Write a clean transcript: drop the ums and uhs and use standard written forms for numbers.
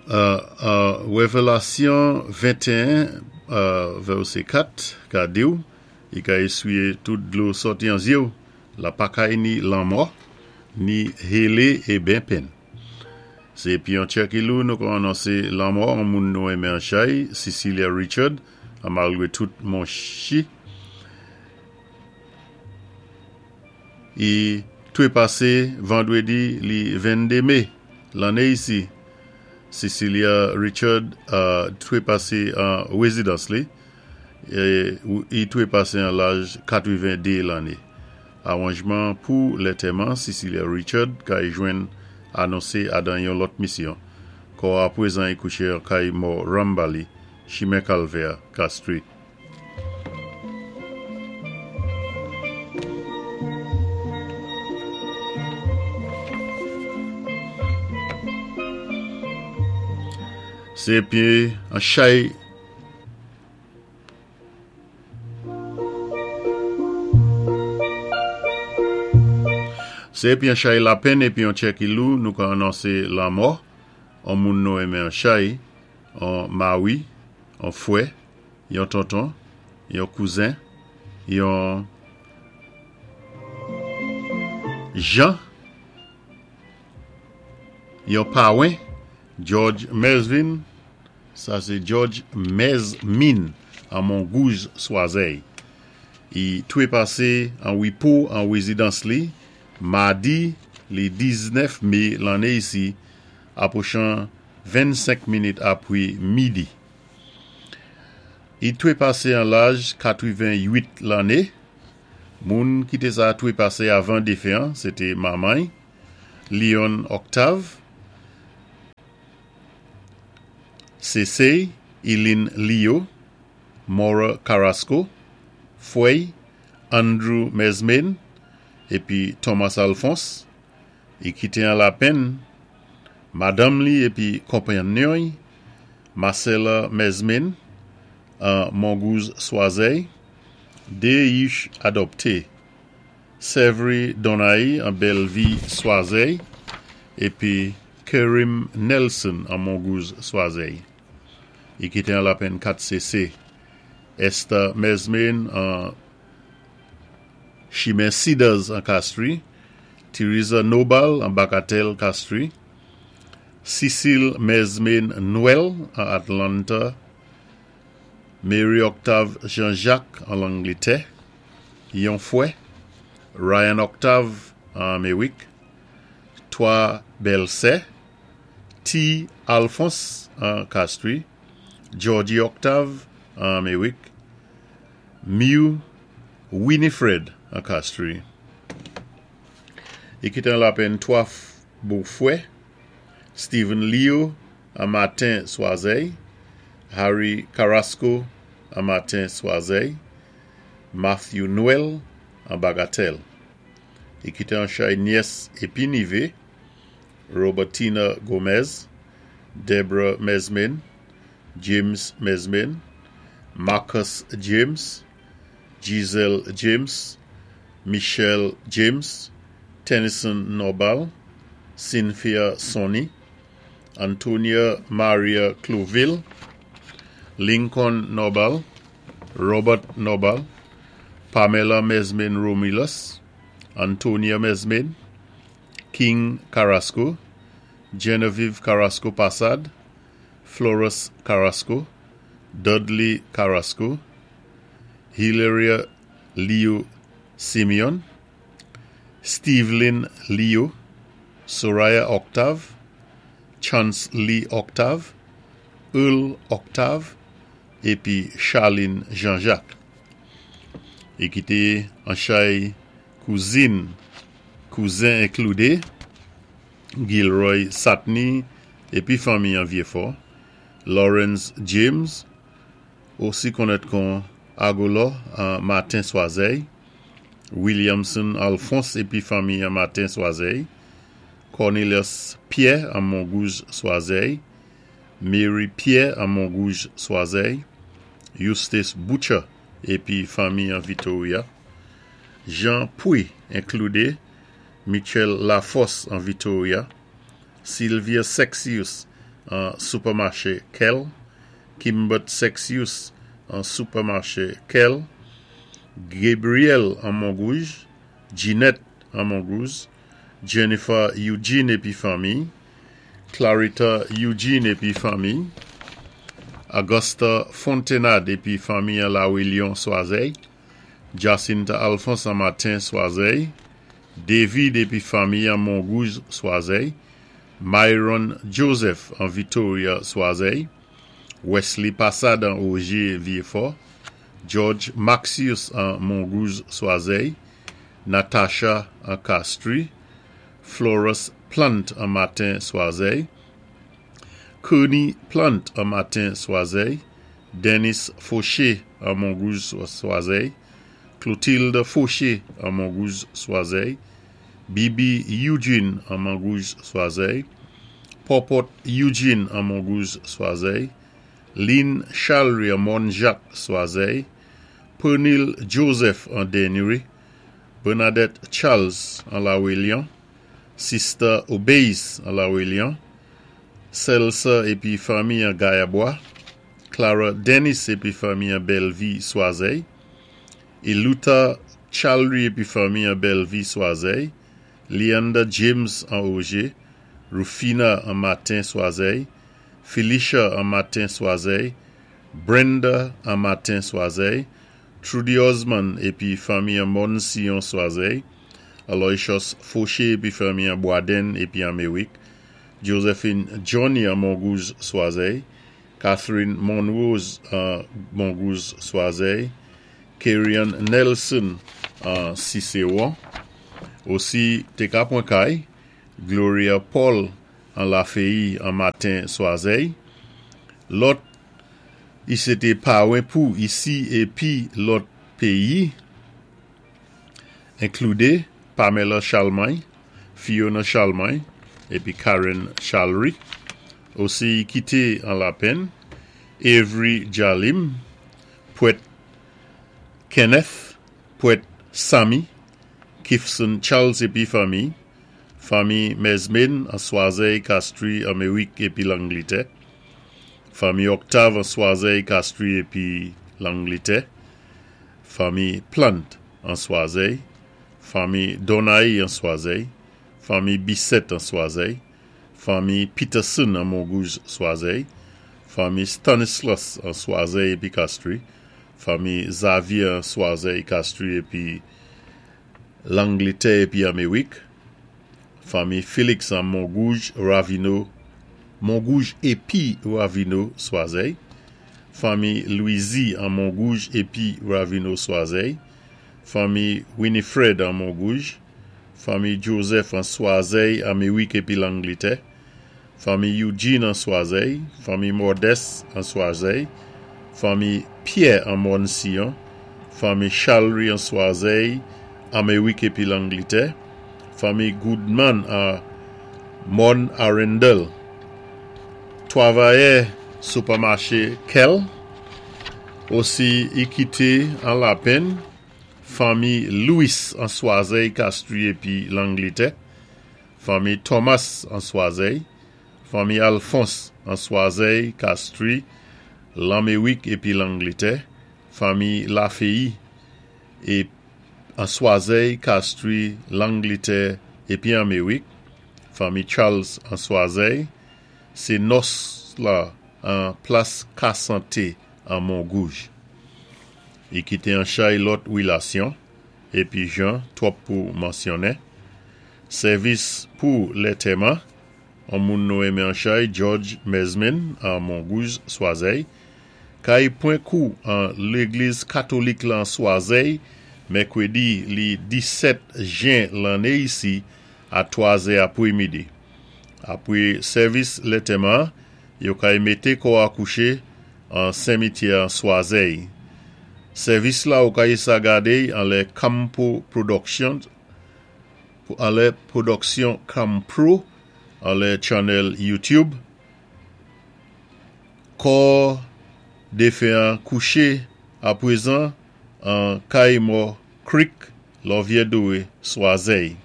Révélasyon 21, vèsé 4, ka di-w, I ka éswiyé tout dlo sòti an zyé-w, la pa kay ni lanmò, ni hélé é ben penn. Sé épi an tchè ki lou nou ka anonsé lanmò an moun nou enmen an chay, Cecilia Richard, an malgwé tout monchi I twépasé vandwédi li 22 mé lanné isi. Cecilia Richard twépasé an wézidans li, i twépasé an laj 82 lanné. Awanjman pou lantèman Cecilia Richard kay jwenn anonsé adan yon lòt misyon. Kò a pwézan i kouché an kay mò Rambali, Chimen Kalvè, Castries. Sé épi an chay. Sé épi an chay lapenn épi an tchè ki lou nou ka anonsé lanmò an moun nou enmen an chay, an mawi, an fwè, yon tonton, yon kouzen, yon jan, yon pawen, George Mesvin, sa sé George Mesmin an Mongouj Swazèy. I twépasé an wipò an wézidans li, madi li 19 mé lanné isi, apwochan 25 minit apwi midi. I twépasé an laj 88 lanné. Moun ki té sa twépasé avan défen an, sé té manman-y, Leon Octave, Sésé Eileen Leo, Maura Carrasco, fwè-y, Andrew Mesmain, épi Thomas Alphonse. I kité an lapenn madanm li épi konpanyon-y, Marcella Mesmain, an Mongouj Swazèy, dé yich adòpté, Severy Donay an Bèlvi Swazèy, épi Kerim Nelson an Mongouj Swazèy. I kité an lapenn 4 sésé, Esther Mesmain an Chimen Cedars an Castries, Teresa Nobal an Bagatelle Castries, Cecile Mesmain Noël an Atlanta, Mary Octave Jean-Jacques an Langlétè, yon fwè, Ryan Octave an Améwik, twa bèlsè, T. Alphonse an Castries, Georgie Octave an Améwik, Mew Winifred an Castries. I kité an lapenn twa bofwè, Stephen Leo an Matin Swazèy, Harry Carrasco an Matin Swazèy, Matthew Noël an Bagatelle. I kité an chay nyès épi nivé, Robertina Gomez, Deborah Mesmain, James Mesmain, Marcus James, Giselle James, Michelle James, Tennyson Nobal, Cynthia Sonny, Antonia Maria Clouville, Lincoln Nobal, Robert Nobal, Pamela Mesmain Romulus, Antonia Mesmain, King Carrasco, Genevieve Carrasco Passad, Florus Carrasco, Dudley Carrasco, Hilaria Leo Simeon, Stevelin Leo, Soraya Octave, Chance Lee Octave, Earl Octave, épi Charlene Jean-Jacques. I kité an chay kouzin, kouzen inkloudé, Gilroy Satney épi fanmi an Vieux-Fort, Lawrence James, osi konnèt kon Agolo an Matin Swazèy, Williamson Alphonse épi fanmi an Matin Swazèy, Cornelius Pierre an Mongouj Swazèy, Mary Pierre an Mongouj Swazèy, Eustace Butcher épi fanmi an Victoria, Jean Pouy inkloudé, Michel Laforce an Victoria, Sylvia Sexius. an Supermarché Kel, Kimbert Sexius an Supermarché Kel, Gabriel an Mongouge, Ginette an Mongouge, Jennifer Eugene épi fanmi, Clarita Eugene épi fanmi, Augusta Fontenade épi fanmi an La Réunion Swazey, Jacinta Alphonse an Matin Swazey, David épi fanmi an Mongouge Swazey, Myron Joseph an Victoria Swazey, Wesley Passade an Augier Vieux-Fort, George Maxius an Mongouge Swazey, Natasha an Castries, Florus Plant an Matin Swazey, Kearney Plant an Matin Swazey, Dennis Fauché an Mongouge Swazey, Clotilde Fauché an Mongouge Swazey, Bibi Eugene an Mongouge Swazey, Popot Eugene an Mongouge Swazey, Lynn Chalry an Morne Jacques Swazey, Pernil Joseph an Dennery, Bernadette Charles an La Réunion, Sister Obeis an La Réunion, Celsa épi fanmi an Gayabois, Clara Dennis épi fanmi an Bellevue Swazey, Eluta Chalry épi fanmi an Bellevue Swazey, Leander James an Auger, Rufina an Matin Swazey, Felicia an Matin Swazey, Brenda an Matin Swazey, Trudy Osman épi fanmi an Morne Sion Swazey, Aloysius Fauché épi fanmi an Boisden épi an Merrick, Josephine Johnny an Mongouge Swazey, Catherine Monrose an Mongouge Swazey, Kerryon Nelson an Cicéron, osi té ka pwan kay, Gloria Paul an Lafeyi an Matin Swazey, lòt i sé té pawen pou isi épi lòt péyi, inkloudé Pamela Charlemagne, Fiona Charlemagne épi Karen Charlery, osi i kité an lapenn, Avery Jalim, Pwèt Kenneth, Pwèt Sammy, Kifson Charles épi fanmi, fanmi Mesmin an Swazey, Castries, Amerik épi Langlitè, fanmi Octave an Swazey, Castries épi Langlitè, fanmi Plant an Swazey, fanmi Donaï an Swazey, fanmi Bissett an Swazey, fanmi Peterson an Mongouge Swazey, fanmi Stanislas an Swazey épi Castries, fanmi Xavier an Swazey, Castries épi Langlitè épi Amerik, fanmi Félix an Mongouge, Raveneau, Mongouge épi Raveneau Swazey, fanmi Louisy an Mongouge épi Raveneau Swazey, fanmi Winifred an Mongouge, fanmi Joseph an Swazey, Amerik épi Langlitè, fanmi Eugene an Swazey, fanmi Modeste an Swazey, fanmi Pierre an Morne Sion, fanmi Charlery an Swazey, Amerik épi Langlitè, fanmi Goodman an Morne Arundel, twavayè sipèmaché Kel, osi i kité an lapenn, fanmi Louis an Swazey, Castries épi Langlitè, fanmi Thomas an Swazey, fanmi Alphonse an Swazey, Castries, Lanmerik épi Langlitè, fanmi Lafeyi é an Swazey, Castries, Langlitè épi Amerik, fanmi Charles an Swazey, sé nòs la an Plas Kasante an Mongouj. I kité an chay lòt wilasyon épi jan twòp pou mansyonnen. Sèvis pou lètèman, on moun nou renmen an chay George Mesmin an Mongouj Swazey, kay pwan kou an légliz katolik lan Swazey mèkwédi li 17 jen lanné isi a 3 zè apwé midi. Apwé sèvis lètèman, yo kay mété kò a kouché an senmityè an Swazey. Sèvis la ou kay sa gadé anlè Campo Productions anlè Production Campro anlè channel YouTube. Kò défen an kouché apwézan an Kay Mò Creek, Lòvyè Dowé, Swazey.